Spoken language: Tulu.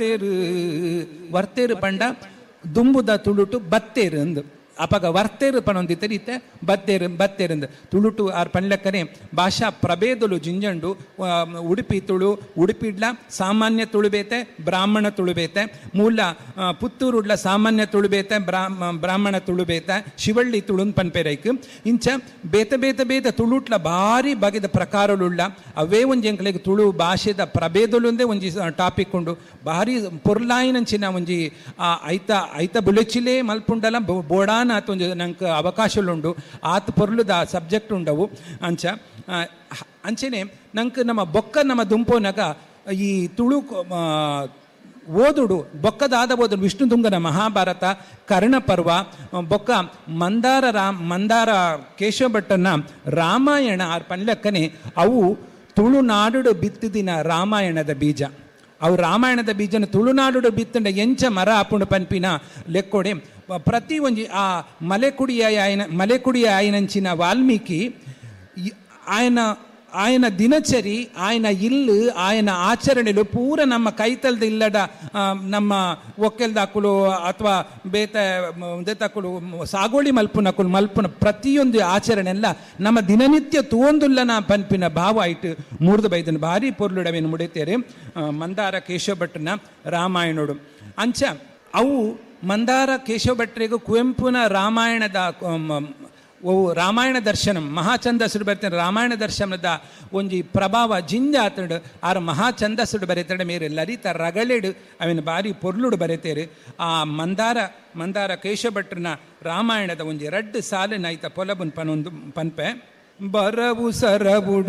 ತೇರು ವರ್ತೇರು ಪಂಡ ದುಂಬುದ ತುಳುಟು ಬತ್ತೇರು ಅಂದು. ಅಪಗ ವರ್ತೇರು ಪನೊಂದಿತ್ತೇರು, ಇತ್ತೆ ಬತ್ತೇರು ಬತ್ತೇರಂದು ತುಳುಟು ಆರ್ ಪನ್ಲೆಕ್ಕನೆ ಭಾಷಾ ಪ್ರಭೇದಲು ಜಿಂಜಂಡು. ಉಡುಪಿ ತುಳು, ಉಡುಪಿಡ್ಲ ಸಾಮಾನ್ಯ ತುಳು ಬೇತೆ, ಬ್ರಾಹ್ಮಣ ತುಳು ಬೇತೆ. ಮೂಲ ಪುತ್ತೂರುಡ್ಲ ಸಾಮಾನ್ಯ ತುಳು ಬೇತೆ, ಬ್ರಾಹ್ಮಣ ತುಳು ಬೇತೆ, ಶಿವಳ್ಳಿ ತುಳುನ್ ಪನ್ಪೆರೈಕ್. ಇಂಚ ಬೇತೆ ಬೇತೆ ಬೇತೆ ತುಳುಟ್ಲ ಭಾರಿ ಬಗೆದ ಪ್ರಕಾರಲುಳ್ಳ. ಅವೇ ಒಂಜಿ ಎಂಕ್ಲೆಗ್ ತುಳು ಭಾಷೆದ ಪ್ರಭೇದಲುಂದೇ ಒಂಜಿ ಟಾಪಿಕ್ ಉಂಡು. ಭಾರಿ ಪೊರ್ಲಾಯಿನಂಚಿನ ಒಂಜಿ ಐತ ಐತ ಬುಲೆಚಿಲೇ ಮಲ್ಪುಂಡಲ ಬೋಡಾನ ಆತ್ ಒಂಜಿ ನಂಕ್ ಅವಕಾಶಲುಂಡು, ಆತ್ ಪೊರ್ಲುದ ಸಬ್ಜೆಕ್ಟ್ ಉಂಡವು. ಅಂಚ ಅಂಚೆನೆ ನಂಕ್ ನಮ್ಮ ಬೊಕ್ಕ ನಮ್ಮ ದುಂಪೋನಗ ಈ ತುಳು ಓದುಡು ಬೊಕ್ಕದಾದ ಓದುಡು ವಿಷ್ಣುದುಂಗನ ಮಹಾಭಾರತ, ಕರ್ಣಪರ್ವ, ಬೊಕ್ಕ ಮಂದಾರ ರಾಮ್ ಮಂದಾರ ಕೇಶವ ಭಟ್ಟನ ರಾಮಾಯಣ. ಆರ್ ಪನ್ಲೆಕ್ಕನೆ ಅವು ತುಳುನಾಡುಡು ಬಿತ್ತಿದಿನ ರಾಮಾಯಣದ ಬೀಜ. ಅವು ರಾಮಾಯಣದ ಬೀಜನ ತುಳುನಾಡುಡು ಬಿತ್ತಂಡ ಎಂಚ ಮರ ಆಪುಂಡು ಪನ್ಪಿನ ಲೆಕ್ಕೊಡೆ ಪ್ರತಿ ಒಂಜಿ ಆ ಮಲೆಕುಡಿಯ ಆಯನ ಮಲೆಕುಡಿಯ ಆಯನಂಚಿನ ವಾಲ್ಮೀಕಿ ಆಯನ ಆಯನ ದಿನಚರಿ, ಆಯನ ಇಲ್ಲು, ಆಯನ ಆಚರಣೆಲು ಪೂರ ನಮ್ಮ ಕೈತಲ್ದ ಇಲ್ಲಡ ನಮ್ಮ ಒಕ್ಕೆಲ್ದಾಕುಲು ಅಥವಾ ಬೇತೆ ದೇತಾಕುಲು ಸಾಗೋಳಿ ಮಲ್ಪುನಕುಲು ಮಲ್ಪುನ ಪ್ರತಿಯೊಂದು ಆಚರಣೆ ಎಲ್ಲ ನಮ್ಮ ದಿನನಿತ್ಯ ತೂವೊಂದುಲ್ಲನ ಪನ್ಪಿನ ಭಾವ ಐಟ್ ಮೂರ್ದು ಬೈದನ. ಭಾರಿ ಪೊರ್ಲುಡವೇನು ಮುಡಿತೇರೆ ಮಂದಾರ ಕೇಶವ ಭಟ್ಟನ ರಾಮಾಯಣೋಡು. ಅಂಚ ಅವು ಮಂದಾರ ಕೇಶವ ಭಟ್ರಿಗೂ ಕುವೆಂಪುನ ರಾಮಾಯಣದ ಓ ರಾಮಾಯಣ ದರ್ಶನ ಮಹಾಚಂದಸುಡು ಬರ್ತಾರೆ. ರಾಮಾಯಣ ದರ್ಶನದ ಒಂಜಿ ಪ್ರಭಾವ ಜಿಂಜ ಆತಂಡು ಆರ್ ಮಹಾಚಂದಸುಡು ಬರೆತಂಡ ಮೇರೆ ಲಲಿತ ರಗಳೆಡು ಅವಿನ ಬಾರಿ ಪೊರ್ಲುಡು ಬರೆತೇರು. ಆ ಮಂದಾರ ಮಂದಾರ ಕೇಶವ ಭಟ್ರನ ರಾಮಾಯಣದ ಒಂಜಿ ರಡ್ಡು ಸಾಲಿನ ಐತ ಪೊಲಬುನ್ ಪನೊಂದು ಪನ್ಪೆ. ಬರವು ಸರವುಡು